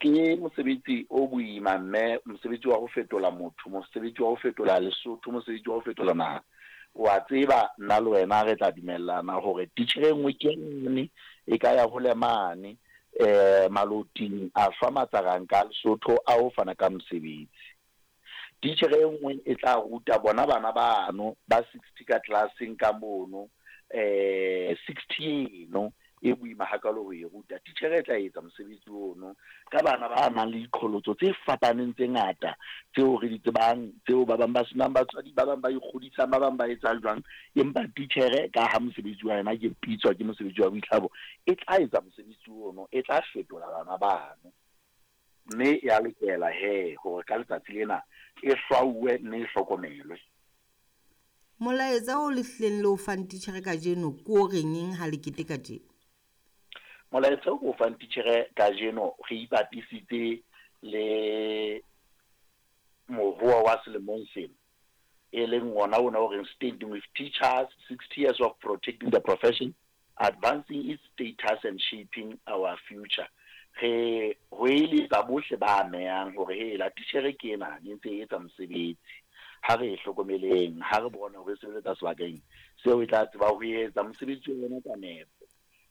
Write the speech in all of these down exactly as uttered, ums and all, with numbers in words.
Ke mosebetsi o boima mme, mosebetsi wa ho fetola motho, mosebetsi wa ho fetola Lesotho, mosebetsi wa ho fetola naha. Wa tseba nna le wena re tla dumellana hore titjhere e nngwe ke nngwe e ka ya hole mane eh maloting a hlwa matsaranka a Lesotho a ho fana ka mosebetsi. Titjhere e nngwe e tla ruta bona bana bano ba sixty ka tlelaseng ka mono, eh sixty eno e boima hakalo ho e ruta. Titjhere e tla etsa mosebetsi ono ka bana ba nang le diqholotso tse fapaneng tse ngata tseo re di tsebang, tseo ba bang ba senang batswadi, ba bang ba ikgodisang, ba bang ba etsang jwang. Empa titjhere ka ha mosebetsi wa yona ke pitswa ke mosebetsi wa boitlhabo, e tla etsa mosebetsi ono, e tla fetola bana bano. Mme ya lokela he hore ka letsatsi lena e hlwauwe mme e hlokomelwe. Molaetsa o le hlileng le o fang titjhere kajeno ke o reng ha le keteka tje? Molaetsa o fang titjhere kajeno re ipapisitse le mohoa wa selemong sena, e leng ona ona o reng Standing with Teachers, sixty years of protecting the profession, advancing its status and shaping our future. Re ho eletsa bohle ba amehang hore hela titjhere ke ena e ntse e etsa mosebetsi, ha re e hlokomeleng, ha re bone hore e sebeletsa sebakeng seo e tla tseba ho etsa mosebetsi wa yona ka nepo.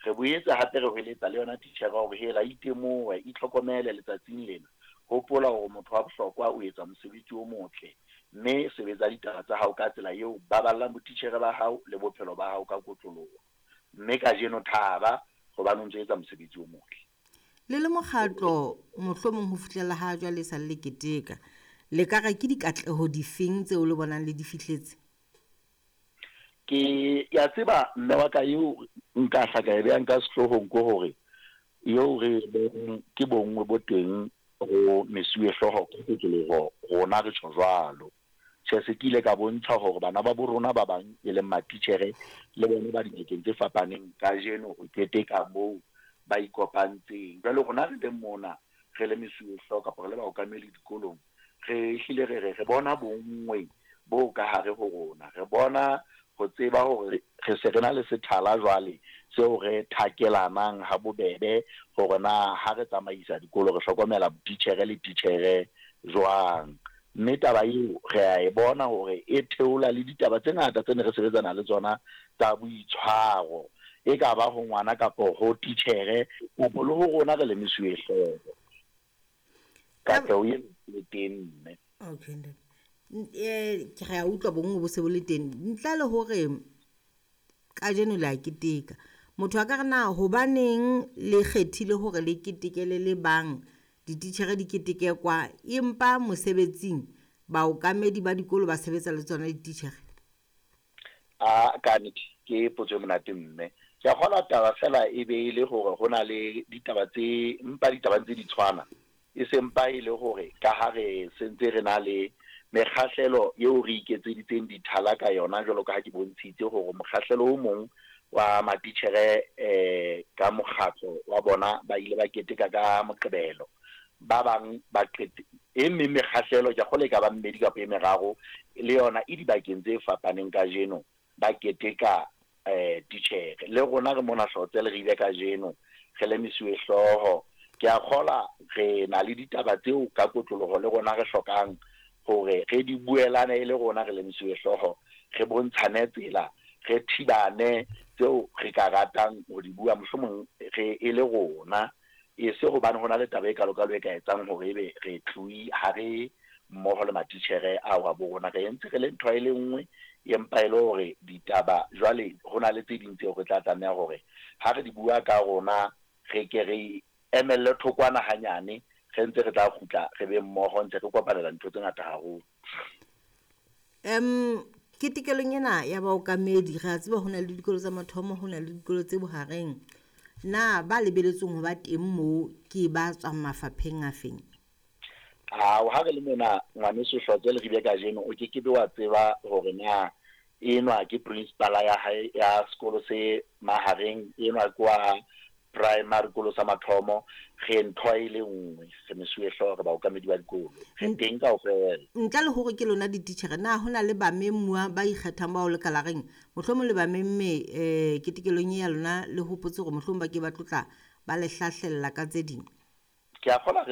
Re boetse hape re hweletsa le yona titjhere hore hela itemohe, itlhokomele letsatsing lena. Hopola hore motho wa bohlokwa o etsa mosebetsi o motle, mme sebetsa ditaba tsa hao ka tsela eo baballang botitjhere ba hao le bophelo ba hao ka kotloloho. Mme kajeno thaba hobane o ntso etsa mosebetsi o motle. Le le mokgatlo mohlomong ho fihlela ha jwale sa le keteka, le ka re ke dikatleho difeng tseo le bonang le di fihletse? Ke ya tseba mme wa ka eo nka hla ka e behang ka sehloohong ke hore eo re boneng ke bonngwe bo teng ho mesuwehlooho ka kotloloho, rona re tjho jwalo. Tjhe, se ke ile ka bontsha hore bana ba bo rona ba bang e leng matitjhere le bona ba dibakeng tse fapaneng kajeno ho keteka moo ba ikopantseng. Jwale rona re le mona re le mesuwehlooho kapa re le baokameli dikolong, re hlile re re re bona bonngwe bo ka hare ho rona, re bona ho tseba hore re se re na le sethala jwale seo re thakelanang ha bobebe hore na ha re tsamaisa dikolo re hlokomela titjhere le titjhere jwang. Mme taba eo re a e bona hore e theola le ditaba tse ngata tse ne re sebetsana le tsona tsa boitshwaro, e ka ba ho ngwana kapa ho titjhere kapa le ho rona re le mesuwehlooho. Katleho eo e teng mme. Okay, ntate. Eh, ke re a utlwa bonngwe bo se bo le teng. Ntle le hore kajeno le a keteka, motho a ka re na hobaneng le kgethile hore le ketekele le bang dititjhere di keteke kwa, empa mosebetsing baokamedi ba dikolo ba sebetsa le tsona dititjhere? A ka nnete ke potso e monate mme. Ke a kgolwa taba fela e be e le hore ho na le ditaba tse mpa ditaba tse di tshwana, e sempa e le hore ka ha re sentse re na le mekgahlelo eo re iketseditseng dithala ka yona, jwalo ka ha ke bontshitse hore mokgahlelo o mong wa matitjhere eh ka mokgatlo wa bona ba ile ba keteka ka Moqebelo, ba bang ba qete e meng mekgahlelo ke a kgolwa e ka ba mmedi kapa e meraro le yona e dibakeng tse fapaneng kajeno ba keteka eh titjhere. Le rona re mona Hlotsele re ile kajeno re le mesuwehlooho. Ke a kgolwa re na le ditaba tseo ka kotloloho le rona re hlokang hore re di buelane e le rona re le mesuwehlooho, re bontshane tsela, re thibane tseo re ka ratang ho di bua mohlomong re e le rona, e se hobane ho na le taba e kalokalo e ka etsang hore ebe re tlohi ha re mmoho le matitjhere ao a bo rona, re entse re le ntho e le nngwe, empa e le hore ditaba jwale ho na le tse ding tseo re tla tlameha hore ha re di bua ka rona re ke re emelle thokwana hanyane, re ntse re tla kgutla re be mmoho ntse re kopanela ntho tse ngata haholo. Em ketekelong ena ya baokamedi re a tseba ho na le dikolo tsa mathomo, ho na le dikolo tse bohareng. Na ba lebeletsweng ho ba teng moo ke ba tswang mafapheng a feng? Ao, ha re le mona ngwaneso Hlotsele re bile kajeno, o kekebe wa tseba hore na enwa ke principal ya hae ya sekolo se mahareng, enwa ke wa primary sekolo sa mathomo. Re ntho e le nngwe, re mesuwehlooho, re baokamedi ba dikolo, re teng kaofela. Ntle le hore ke lona dititjhere, na ho na le bamemuwa ba ikgethang bao le ka la reng mohlomong le ba memme eh ketekelong ya lona, le hopotse hore mohlomong ba ke ba tlotla ba le hlahlella ka tse ding? Ke a kgolwa re